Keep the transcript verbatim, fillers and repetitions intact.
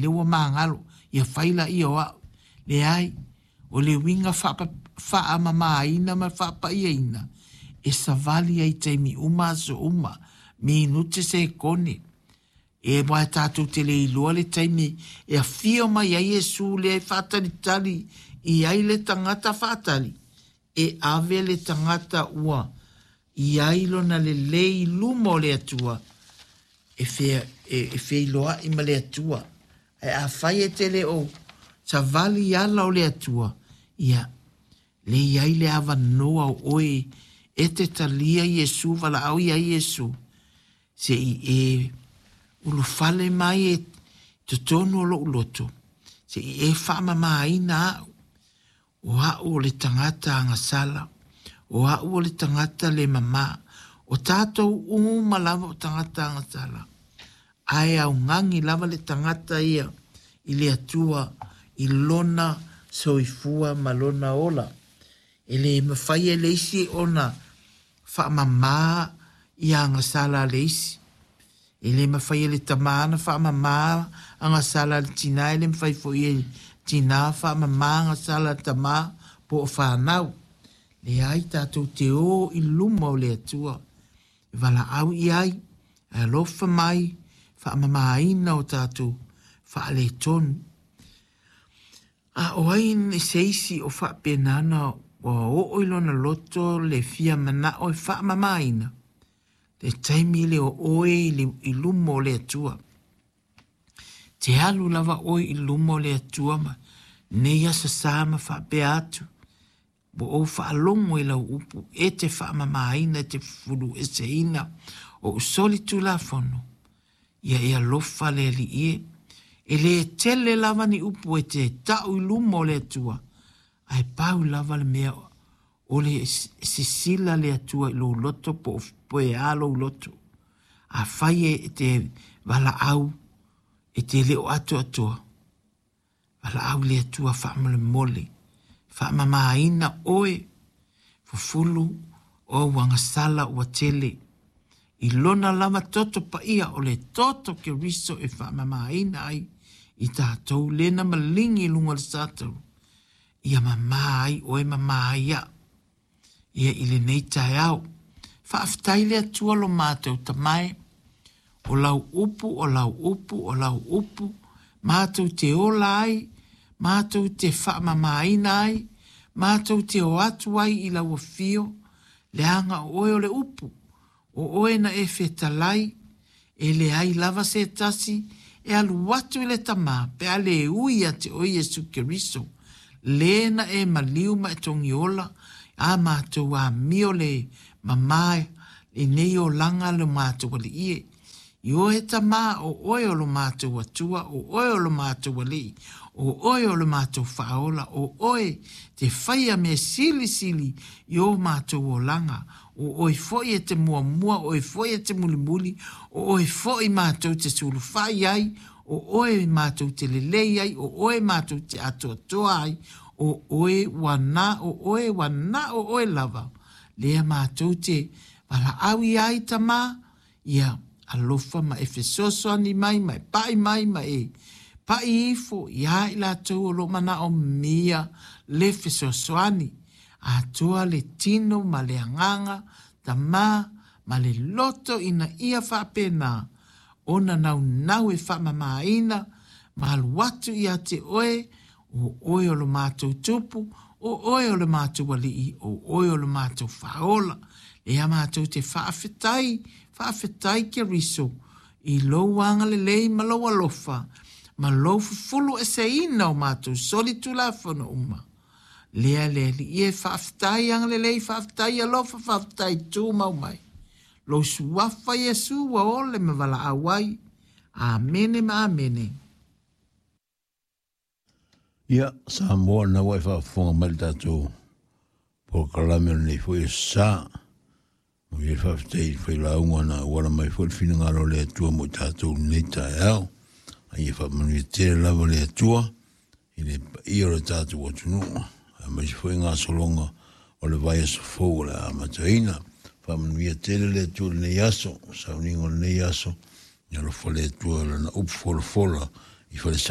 Lea ua magalo, ia fai laia o au. Leai, o le uiga faamamaina ma le faapaiaina, e savali ai i taimi uma aso uma, minute sekone. E aua tatou te le iloa le taimi e afio mai ai Iesu lea e faatalitali i ai le tagata faatali, e ave le tagata ua i ai lona lelei i luma o le Atua e, fea, e, e feiloai ma le Atua. Ae afai e te le o savali i ala o le Atua, ia, le i ai le avanoa o oe e te talia Iesu, valaau ia Iesu, se i e ulufale mai e totonu o lou loto, se i e faamamaina au. O au o le tagata agasala, o au o le tagata le mama, o tatou uma lava o tagata agasala. Ae augani lava le tagata ia i le Atua i lona soifua ma lona ola. E le mafai e le isi ona faamama i agasala a le isi. E le mafai e le tama ona faamama agasala a le tina, e le mafai foi e tina faamama agasala a le tama po o fanau. Leai, tatou te o i luma o le Atua. E valaau i ai, e alofa mai, faamamaina o tatou faaletonu. A o ai se isi o faapena ona ua oo i lona loto le fia manao e faamamaina, le taimi lea o oe i luma o le Atua. Te alu lava oe i luma o le Atua ma nei aso sa ma faapea atu. Ua ou faalogo i lau upu e te faamamaina, e te fufulueseina o usoli tulafono. Ia e alofa le Alii e. E le tele lava ni upu e te tau i luma o le Atua, ae pau lava le mea o le sisila le Atua i lou loto po o poe a lou loto. Afai e te valaau, e te leo atoatoa, valaau le Atua faamolemole, faamamaina oe, fufulu o agasala ua tele. I lona lava toto paia o le toto Keriso e faamamaina ai i tatou lena maligi i luga o le satau. Ia mama ai oe mama ai au. Ia i lenei taeao. Faafetai le Atua lo matou tamae. O lau upu, o lau upu, o lau upu. Matou te ola ai, matou te faamamaina ai, matou te o atu ai i lau afio, leaga o oe o le upu. O oe na e fetalai, e leai lava se tasi, e alu atu i le tama, pe a le ui ia te oe Iesu Keriso. Le na e maliu ma e togiola, a matou amio le mama i nei olaga le matou alii e. I oe tama o oe o lo matou Atua, o oe o lo matou alii, o oe o le matou faaola, o oe te faia mea silisili i o matou olaga. O oe foi e te muamua, o oe foi e te mulimuli, o oe foi matou te sulufai ai, o oe matou te lelei ai, o oe matou te atoatoa ai, o oe ua na, o oe ua na o oe lava. Lea matou te valaau i ai tama, ia alofa ma e fesoasoani mai, ma e pai mai, ma e pai ifo ia i latou o lo manaomia le fesoasoani. Atoa le tino ma le agaga, tama ma le loto ina ia faapena, ona naunau e faamamaina, ma alu atu ia te oe, o oe o lo matou tupu, o oe o le matou alii, o oe o le matou faaola. Lea matou te faafetai, faafetai Keriso, i lou agalelei ma lou alofa, ma lou fufulu eseina o matou soli tulafono uma. Lea le alii e faafetai agalelei, faafetai alofa, faafetai tumau mai. Lou suafa Iesu ua ole ma valaau ai. Amene ma amene. Ia, Samoa na ua e faafofoga mai le tatou polokalame o lenei foi aso sa. Mo ia faafetai i le failauga na auala mai foi le finagalo o le Atua mo i tatou lenei taeao. A ia faamanuia tele lava le Atua i le paia o le tatou atunuu. Aemaise foi gasologa o le vaiaso fou o le amataina. Faamanuia tele le Atua i lenei aso, sauniga o lenei aso. Ia alofa le Atua lana upu folafola i falesa.